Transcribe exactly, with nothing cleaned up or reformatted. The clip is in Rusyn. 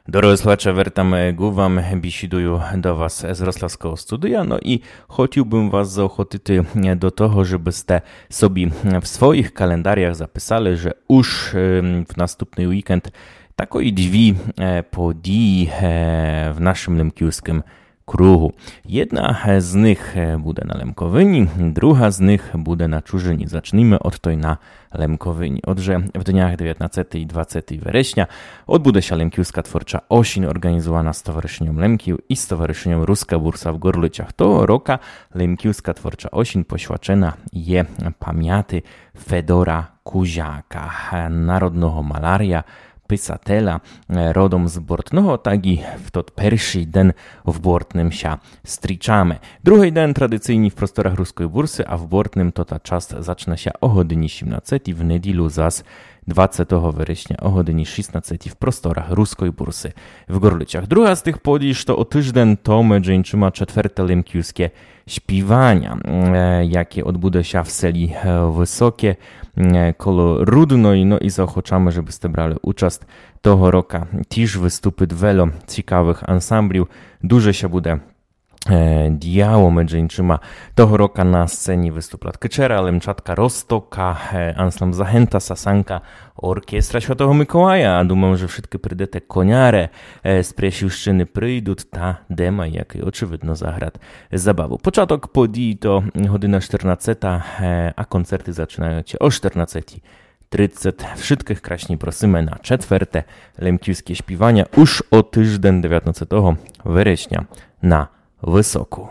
Дорогы слухаче, вертаме ґу вам, бісідую до вас з Рославского студия, но і хотів бым вас заохотити до того, жебы сте собі в своїх календарях записали, же уж ем, в наступный вікенд такої дві е, події е, в нашым лемківскым кругу. Єдна е, з них е, буде на Лемковині, друга з них буде на чужыні. Зачніме од той на Лемковині. Отже, в днях девятнадцятый і двадцятый вересня одбуде ся Лемківска творча осін, орґанізувана Стоваришыньом Лемків і Стоваришыньом Руска Бурса в Ґорлицях. Того рока Лемківска творча осін посвячена є памяти Федора Кузяка, е, народного маляря, писателя, е, родом з Бортного, так і в тот першый ден в Бортным ся стрічаме. Другый ден традиційні в просторах Руской Бурсы, а в Бортным тота част зачне ся о годині сімнадцятій, в неділю зас двадцятого вересня о годині шістнадцятій в просторах Руской Бурсы в Ґорлицях. Друга з тых подій, што о тыжден, то меджі іншыма четверте лемківске співаня, е, яке одбуде ся в селі е, Высоке е, коло Рудної, но і заохочаме, жебы сте брали участ. Того рока тіж выступит вельо цікавых ансамблів. Дуже ся буде е, діяло, меджі іншыма. Того рока на сцені выступлят Кычера, Лемчатка Розтока, е, ансамбль Загента, Сасанка, оркестра Святого Миколая. А думам, же вшыткы прийдете коняре е, з Пряшівщыны прийдут, та Дема, якый очевидно заграт забаву. Початок подій то година штырнадцята, е, а концерты зачынають ся о штырнадцятій тридцять. Вшыткых красні просиме на четверте лемківске співаня уж о тыжден, девятнадцятого вересня, на Высоку.